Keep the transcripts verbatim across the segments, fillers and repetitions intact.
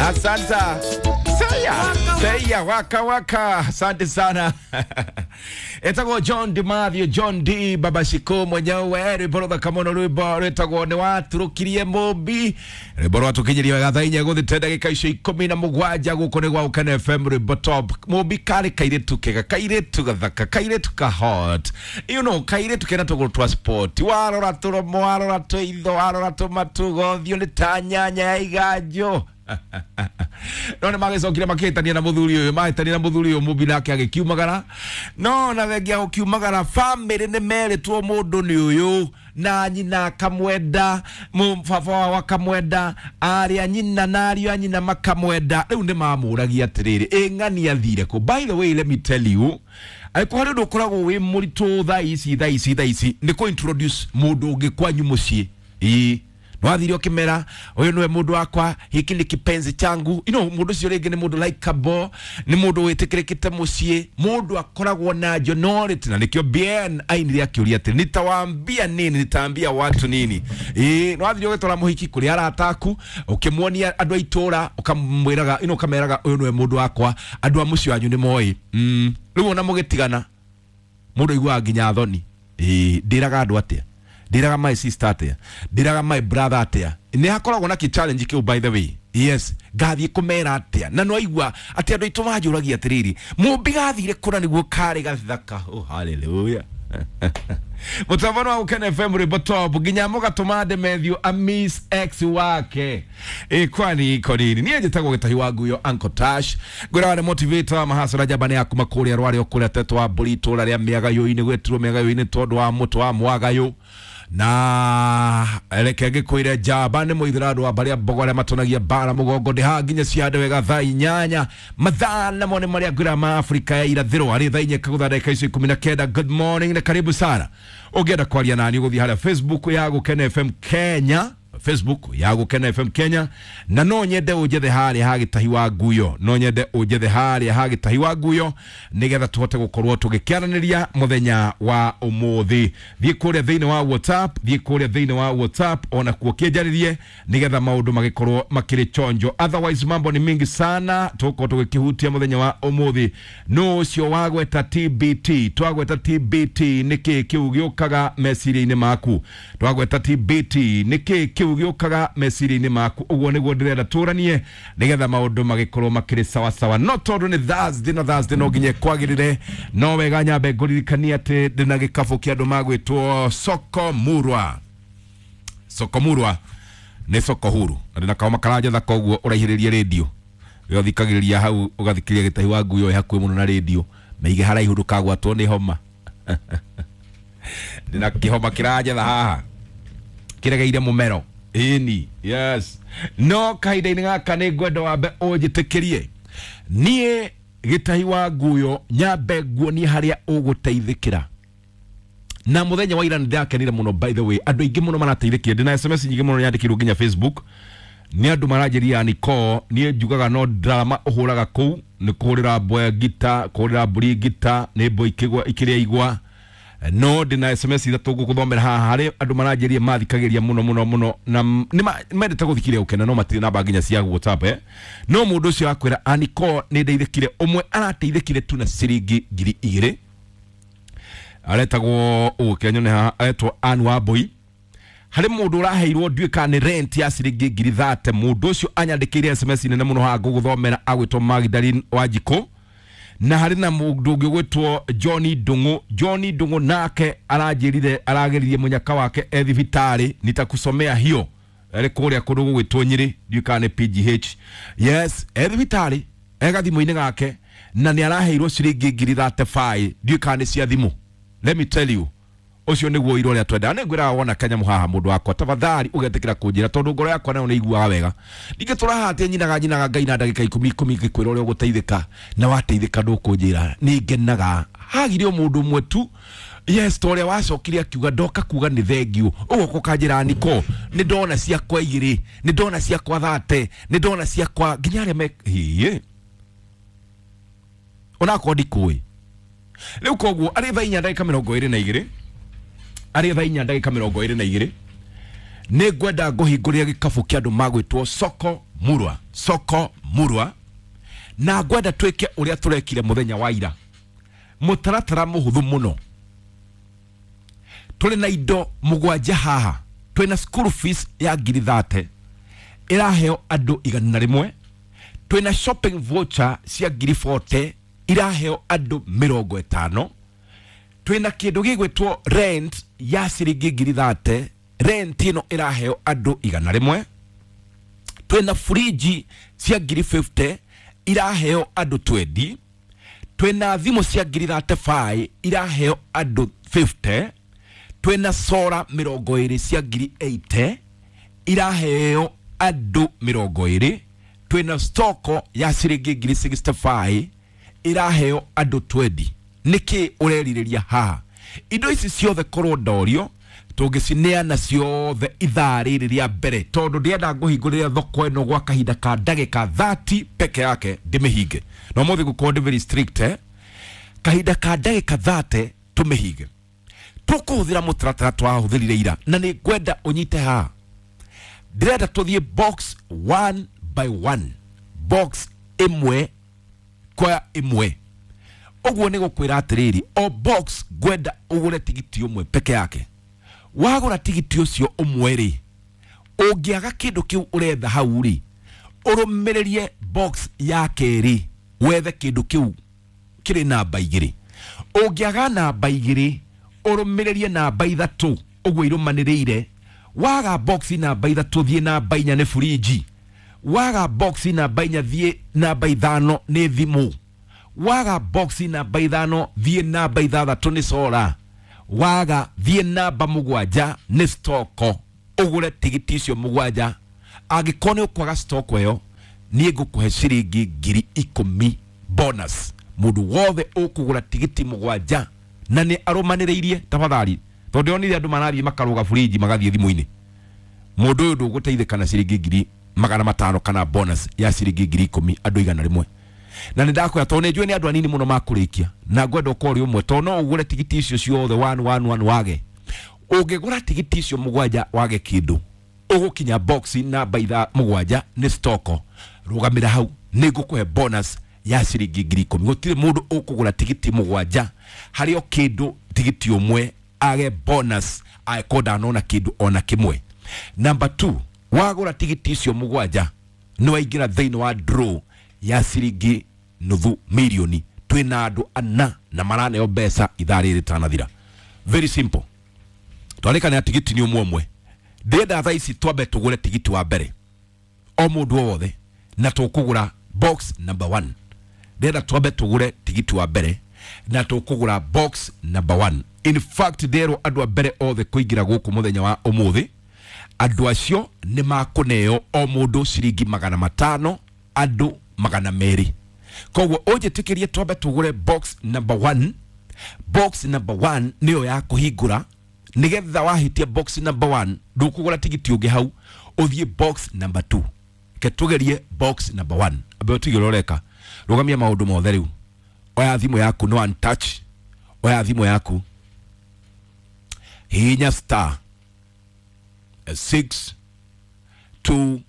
Asante. Seya, seya waka waka. Asante sana. Etagwo John D Mathew, John D Baba Shiko mwenyewe. Rwimbo rũthaka mũno, rwimbo rwĩtagwo nĩ waturũkirie mũmbi, rwimbo rwatũkinyirie wega thaa inya gũthĩte ndagĩka icio ikũmi na mũgwanja. Gũkũ nĩ gwa Ũkene F M, rwimbo top. Mũmbi karĩ kairĩtu kega, kairĩtu gathaka, kairĩtu ka hot, you know kairĩtu kena tũgũrũ twa sport. Warora tũromo, warora tũitho, warora tũmatugo, ũthiũ nĩ ta nyanya ya iganjo. No nĩ magĩcokire makĩhĩtania na mũthuri ũyũ, mahĩtania na mũthuri ũyũ, mũmbi nake agĩkiumagara. No na thengia gũkiumagara, famĩlĩ nĩ merĩtwo mũndũ nĩ ũyũ, na nyina akamwenda, baba wao akamwenda, arĩa nyina na ariũ a nyina makamwenda. Rĩu nĩ mamũragia atĩrĩrĩ, ĩ ng'ani athire kũ? By the way, let me tell you, angĩkorwo harĩ ũndũ ũkoragwo wĩ mũritũ thaa ici thaa ici thaa ici nĩ kũ introduce mũndũ ũngĩ kwanyu mũciĩ. Ĩĩ, nwathire ũkĩmera ũyũ nĩwe mũndũ wakwa, hiki ni kipenzi changu. you know mũndũ ũcio rĩngĩ nĩ mũndũ likeable, nĩ mũndũ wĩtĩkĩrĩkĩte mũciĩ, mũndũ akoragwo na jonority, na nĩkĩo Bien ainire akĩũria atĩ nitawaambia nini, nitaambia watu nini. Ĩĩ, nwathire ũgĩtwara mũhiki kũrĩ arata aku, ũkĩmuonia andũ a itũra, ũkamwĩraga you know ũkameraga ũyũ nĩwe mũndũ wakwa, andũ a mũciĩ wanyu nĩ moĩ. mm. Rĩu ona mũgĩtigana, mũndũ aiguaga nginya thoni. Ĩĩ, ndĩraga andũ atĩa? Ndĩraga my sister atĩa? Ndĩraga my brother atĩa? Nĩ hakoragwo na kĩ challenge kĩu, by the way. Yes, ngathiĩ kũmera atĩa? Na no aigua atĩ andũ aitũ manjũragia atĩrĩrĩ, mũmbi gathire kũna nĩguo karĩ gathaka? Oh, hallelujah. Mũtambo wa Gũkena F M, rwĩmbo top, nginya mũgatũma Demethiũ amis ex wake. Ĩ kwani iko nini? Niĩ njĩtagwo Gĩtahi wa Nguyo, Uncle Tash, ngwĩraga nĩ motivator mahacora njamba nĩ yakuma kũrĩa rwarĩ o kũrĩa tetwo wa mbũri, itũra rĩa mĩagayũ-inĩ, gwĩtirwo mĩagayũ-inĩ tondũ wa mũtũ wa mwagayũ. Na reke ngĩkwĩre, njamba nĩ mũithĩra andũ a barĩa mbogo arĩa matonagia mbara mũgongo. Ndĩ haha nginya ciande wega thaa inyanya. Mathaa namo nĩ marĩa ngwĩra ma Afrika ya Irathĩro, arĩ thaa inya kagũtha ndagĩka icio ikũmi na kenda. Good morning na karibu sana. Ũngĩenda kwaria nani, ũgũthiĩ harĩa Facebook ya Gũkena F M Kenya, Facebook ya Gũkena F M Kenya. Na no nyende ũnjethe harĩa ha Gĩtahi wa Nguyo, no nyende ũnjethe harĩa ha Gĩtahi wa Nguyo, nĩgetha tũhote gũkorwo tũgĩkĩaranĩria mũthenya wa ũmũthĩ. Thiĩ kũrĩa thĩinĩ wa WhatsApp, thiĩ kũrĩa thĩinĩ wa WhatsApp ona kuo kĩnjarĩrie, nĩgetha maũndũ magĩkorwo makĩrĩ chonjo. Otherwise mambo ni mingi sana tũgũkorwo tũgĩkĩhutia mũthenya wa ũmũthĩ. No ũcio wagweta T B T, twagweta T B T, nĩkĩ kĩu gĩũkaga meciria-inĩ maku? Twagweta T B T, nĩkĩ kĩu gĩũkaga meciria-inĩ maku? Ũguo nĩguo ndĩrenda tũranie, nĩgetha maũndũ magĩkorwo makĩrĩ sawasawa. No tondũ nĩ Thursday, na Thursday no nginya kwagĩrĩre, no wega nyambe ngũririkanie atĩ ndĩna gĩkabũ kĩa andũ magwĩtwo Soko Murwa. Soko Murwa nĩ soko huru, na ndĩna kaoma karanjetha, koguo ũraihĩrĩrie rĩndio ĩyo thikagĩrĩria hau, ũgathikĩrĩria Gĩtahi wa Nguyo ĩ hakuhĩ mũno na rĩndio, meige haraihu ndũkagwatwo nĩ homa. Ndĩna kĩhoma kĩranjetha haha kĩregeire mũmero. Ĩni, yes. No kahinda-inĩ gaka nĩ ngwenda wambe ũnjĩtĩkĩrie niĩ Gĩtahi wa Nguyo nyambe nguonie harĩa ũgũteithĩkĩra. Na muthenya wa ira nĩ ndakenire mũno, by the way, andũ aingĩ mũno marateithĩkire. Ndĩna S M S nyingĩ mũno nyandĩkĩirwo nginya Facebook nĩ andũ maranjĩria niko niĩ njugaga no drama ũhũraga kũu nĩ kũhũrĩra mbwe ngita, kũhũrĩra mbũri ngita, nĩ mbwe ikĩgwa ikĩrĩa igwa. No ndĩna S M S ithatũ ngũgũthomera haha harĩ andũ maranjĩria mathikagĩria mũno mũno mũno, na nĩ ma- mendete gũthikĩrĩria Ũkena, no matirĩ namba nginya cia WhatsApp, eh? No mũndũ ũcio akwĩra aniko nĩ ndeithĩkire. Ũmwe arateithĩkire tu na ciringi ngiri igĩrĩ, aretagwo ũke nyone haha, aretwo Ann Wambui. Harĩ mũndũ ũraheirwo, ndiũĩ kana nĩ rent ya ciringi ngiri thate. Mũndũ ũcio anyandĩkĩire S M S nene mũno haha ngũgũthomera, agwĩtwo Magdalene Wanjikũ. Na harĩ na mũndũ ũngĩ ũgwĩtwo John Ndung'u. John Ndung'u nake aranjĩrire arageririe mũnyaka wake e thibitarĩ, nitakusomea hiyo, arĩ kũrĩa kũndũ gũgwĩtwo Nyĩrĩ, ndiũĩ kana nĩ P G H. Yes, e thibitarĩ e gathimũ-inĩ gake, na nĩ araheirwo ciringi ngiri thirty-five, ndiũĩ kana nĩ cia thimũ. Let me tell you, ũcio nĩguo ũira ũrĩa twendaga. Nĩ ngwĩraga wona kanyamũ haha, mũndũ wakwa, tafadhali ũgetĩkĩra kũnjĩra, tondũ ngoro yakwa nayo nĩ iguaga wega. Ningĩ tũraha atĩ nyinaga nyinaga ngai na ndagĩka ikũmi ikũmi ngĩkwĩra ũrĩa ũgũteithĩka, na wateithĩka ndũkũnjĩra, nĩ ngenaga. Hagire o mũndũ ũmwe tu, yes, ta ũrĩa wacokire akiuga ndoka kuga nĩ thengiũ, ũgoka ũkanjĩra niko nĩ ndona ciakwa igĩrĩ, nĩ ndona ciakwa thate, nĩ ndona ciakwa nginya arĩa me hiĩ onakorwo ndikũĩ rĩu. Koguo arĩ thaa inya ndagĩka mĩrongo ĩrĩ na igĩrĩ, arĩ thaa inya ndagĩka mĩrongo ĩrĩ na igĩrĩ, Nĩ ngwenda ngũhingũrĩre gĩkabu kĩa andũ magwĩtwo Soko Murwa, Soko Murwa, na ngwenda twĩke ũrĩa tũrekire mũthenya wa ira. Mũtaratara mũhũthũ mũno. Tũrĩ na indo mũgwanja haha. Twĩna school fees ya ngiri thate ĩraheo andũ igana rĩmwe. Twĩna shopping voucher cia ngiri forty iraheo andũ mĩrongo ĩtano. Twĩna kĩndũ gĩgwĩtwo rent ya ciringi ngiri thate, rent ĩno ĩraheo andũ igana rĩmwe. Twĩna fridge cia ngiri fifty iraheo andũ twenty. Twĩna thimũ cia ngiri thirty five iraheo andũ fifty. Twĩna solar mĩrongo ĩrĩ cia ngiri eighty iraheo andũ mĩrongo ĩrĩ. Twĩna stoko ya ciringi ngiri sixty five iraheo andũ twenty. Nĩkĩ ũrerirĩria haha? Indo ici ciothe korwo ndorio tũngĩcineana ciothe ithaa rĩrĩ rĩa mbere, tondũ ndĩrenda ngũhingũrĩre thoko ĩno gwa kahinda ka ndagĩka thirty peke yake ndĩmĩhinge. Na ũmũthĩ ngũkorwo ndĩ very strict, eh? Kahinda ka ndagĩka thirty tũmĩhinge. Tũkũhũthĩra mũtaratara twahũthĩrire ira, na nĩ ngwenda ũnyite haha. Ndĩrenda tũthiĩ box one by one, box ĩmwe kwa ĩmwe. Ũguo nĩ gũkwĩra atĩrĩrĩ, o box ngwenda ũgũre tigiti ũmwe peke yake. Wagũra tigiti ũcio ũmwe rĩ, ũngĩaga kĩndũ kĩu ũretha hau rĩ, ũrũmĩrĩrie box ya kerĩ wethe kĩndũ kĩu kĩrĩ namba igĩrĩ. Ũngĩaga namba igĩrĩ, ũrũmĩrĩrie namba ithatũ ũguo irũmanĩrĩire. Waga box namba ithatũ thiĩ namba inya nĩ fridge. Waga box namba inya thiĩ namba ithano nĩ thimũ. Waga box namba ithano thiĩ namba ithathatũ nĩ solar. Waga thiĩ namba mũgwanja nĩ stoko. Ũgũre tigiti icio mũgwanja. Angĩkorwo nĩ ũkwaga stoko ĩyo, niĩ ngũkũhe ciringi ngiri ikũmi bonus. Mũndũ wothe ũkũgũra tigiti mũgwanja na nĩ arũmanĩrĩirie, tafadhali, tondũ ndĩronire andũ marathiĩ makarũga fridge magathiĩ thimũ-inĩ. Mũndũ ũyũ ndũgũteithĩka na ciringi ngiri magana matano kana bonus ya ciringi ngiri ikũmi andũ igana rĩmwe. Na nĩ ndakwĩra tondũ nĩ njũĩ nĩ andũ anini mũno makũrĩkia, na ngwenda ũkorwo ũrĩ ũmwe, tondũ no ũgũre tigiti icio ciothe one one one wage. Ũngĩgũra tigiti icio mũgwanja wage kĩndũ, ũgũkinya box namba itha mũgwanja nĩ stoko. Rũgamĩra hau, nĩ ngũkũhe bonus ya ciringi ngiri ikũmi. Gũtirĩ mũndũ ũkũgũra tigiti mũgwanja harĩ o kĩndũ tigiti ũmwe age bonus angĩkorwo ndanona kĩndũ ona kĩmwe. Number two, wagũra tigiti icio mũgwanja nĩ waingĩra thĩinĩ wa draw ya ciringi nuthu milioni. Twĩna andũ ana na maraneo mbeca ithaa rĩrĩ rĩtanathira. Very simple. Twarĩkanĩra tigiti nĩ ũmwe ũmwe. Ndĩrenda thaa ici twambe tũgũre tigiti wa mbere o mũndũ o wothe, na tũkũgũra box number one. Ndĩrenda twambe tũgũre tigiti wa mbere na tũkũgũra box number one. In fact, ndĩrerwo andũ a mbere othe kũingĩra gũkũ mũthenya wa ũmũthĩ, andũ acio nĩ makũneo o mũndũ ciringi magana matano, andũ magana merĩ. Koguo ũnjĩtĩkĩrie twambe tũgũre box number one. Box number one nĩyo ya kũhingũra, nĩgetha wahĩtia box number one ndũkũgũra tigiti ũngĩ hau, ũthiĩ box number two. Ke tũgerie box number one. Ambe ũtige ũrĩa ũreka, rũgamia maũndũ mothe rĩu. Oya thimũ yaku, no one touch. Oya thimũ yaku, hihinya star six two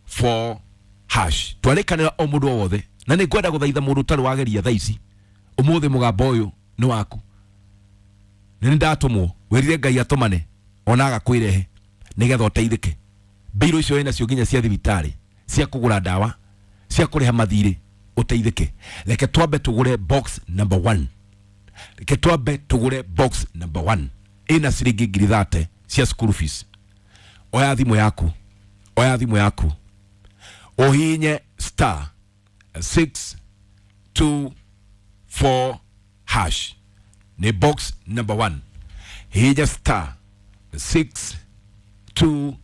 four hash. Twarĩkanĩra o mũndũ o wothe, na nĩ ngwenda gũthaitha mũndũ ũtarĩ wageria thaa ici, ũmũthĩ mũgambo ũyũ nĩ waku. Nĩ ndatũmwo, wĩrire Ngai atũmane ona agakwĩrehe nĩgetha ũteithĩke. Mbirũ icio wĩnacio nginya cia thibitarĩ, cia kũgũra ndawa, cia kũrĩha mathirĩ, ũteithĩke. Reke twambe tũgũre box number one. Reke twambe tũgũre box number one. Ĩna ciringi ngiri thate cia school fees. Oya thimũ yaku, oya thimũ yaku, ũhihinye star six two four hash. Nĩ box number one. Hihinya star six two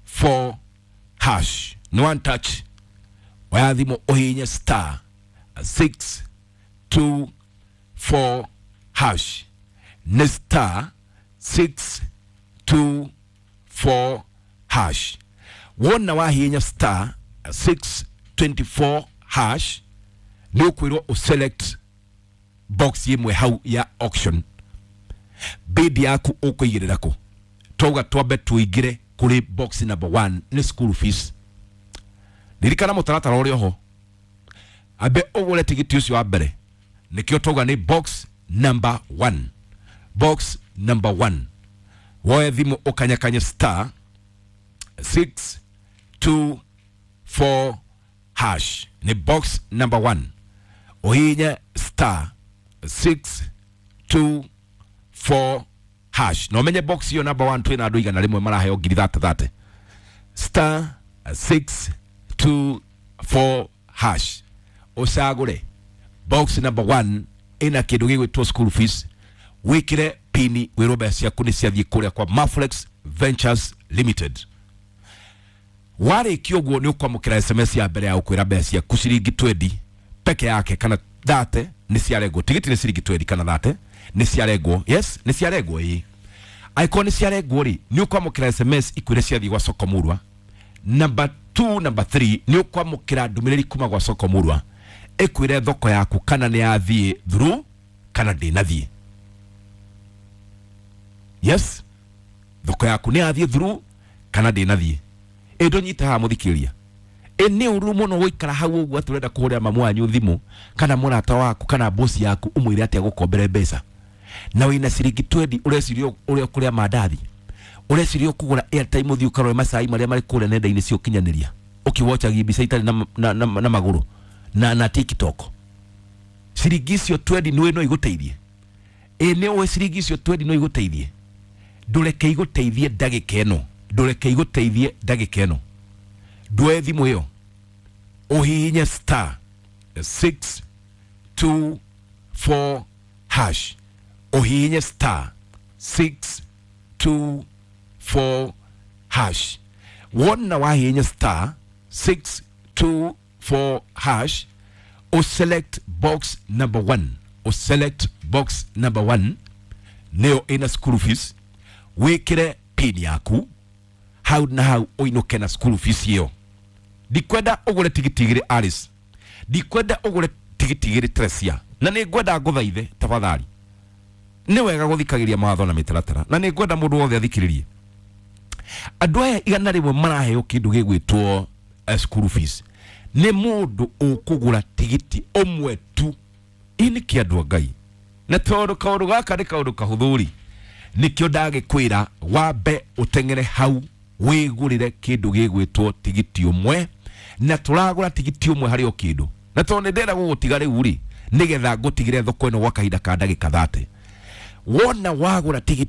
four hash. No one touch. Oya thimũ ũhihinye star six two four hash. Nĩ star six two four hash. Wona wahihinya star six twenty-four hash, nĩ ũkwĩrwo ũselect box ĩmwe hau ya auction. Bid yaku ũkũigĩrĩra kũ? Twauga twambe tũingĩre Kũrĩ box number one nĩ school fees. Ririkana mũtaratara ũrĩ oho, ambe ũgũre tigiti ũcio wa mbere. Nĩkĩo twauga nĩ box number one. Box number one, woe thimũ ũkanyakanye star six two four hash. Nĩ box number one, ũhihinye star six two four hash na ũmenye box iyo number one twĩna andũ igana rĩmwe maraheo ngiri thate thate. Star six two four hash, ũcagũre box number one ĩna kĩndũ gĩgwĩtwo school fees, wĩkĩre pini, wĩrwo mbeca ciaku nĩ ciathiĩ kũrĩa kwa Maflex Ventures Limited. Warĩkia ũguo, nĩ ũkwamũkĩra S M S ya mbere ya gũkwĩra mbeca ciaku ciringi twenty peke yake kana thate nĩ ciarengwo. Tigiti nĩ ciringi twenty kana thate nĩ ciarengwo. Yes, nĩ ciarengwo. Ĩĩ, angĩkorwo nĩ ciarengwo rĩ, nĩ ũkwamũkĩra S M S ikwĩre ciathiĩ gwa Soko Murwa. Number two, number three, nĩ ũkwamũkĩra ndũmĩrĩri kuma gwa Soko Murwa ĩkwĩre thoko yaku kana nĩ yathiĩ through kana ndĩnathiĩ. Yes, thoko yaku nĩ yathiĩ through kana ndĩnathiĩ. Ĩ ndũnyite haha mũthikĩrĩria, ĩ nĩ ũru mũno gũikara hau ũguo atĩ ũrenda kũhũrĩra mamu wanyu thimũ kana mũrata waku kana bosi yaku ũmwĩre atĩ agũkombere mbeca na wĩna ciringi twenty, ũreciria ũrĩa ũkũrĩa mandathi, ũreciria ũkũgũra airtime, ũthiĩ ũkarore macai marĩa marĩ kũrĩa nenda-inĩ cia ũkinyanĩria, ũkĩwochagia mbica itarĩ na, na, na, na magũrũ na, na TikTok. Ciringi icio twenty nĩ no igũteithie? Ĩ nĩ ũĩ ciringi icio twenty no igũteithie? Ndũreke igũteithie ndagĩka ĩno, ndũreke igũteithie ndagĩka ĩno. Ndwoe thimũ ĩyo, ũhihinye star six two four hash, ũhihinye star six two four hash. Wona wahihinya star six two four hash, uselect box number one, uselect box number one nĩyo ĩna school fees, wĩkĩre pin yaku hau na hau ũinũke na school fees ĩyo. Ndikwenda ũgũre tigiti igĩrĩ, Alice. Ndikwenda ũgũre tigiti igĩrĩ, Teresia. Na nĩ ngwenda ngũthaithe tafadhali, nĩ wega gũthikagĩria mawatho na mĩtaratara, na nĩ ngwenda mũndũ wothe athikĩrĩrie. Andũ aya igana rĩmwe maraheo kĩndũ gĩgwĩtwo eh, school fees nĩ mũndũ ũkũgũra tigiti ũmwe tu. Ĩ nĩ andũ a Ngai, na tondũ kaũndũ gaka nĩ kaũndũ kahũthũ, nĩkĩo ndagĩkwĩra wambe ũteng'ere hau wĩgũrĩre kĩndũ gĩgwĩtwo tigiti ũmwe, na tũragũra tigiti ũmwe harĩ o kĩndũ. Na tondũ nĩ ndĩrenda gũgũtiga rĩu rĩ, nĩgetha ngũtigĩre thoko ĩno gwa kahinda ka ndagĩka thate, wona wagũra tigiti.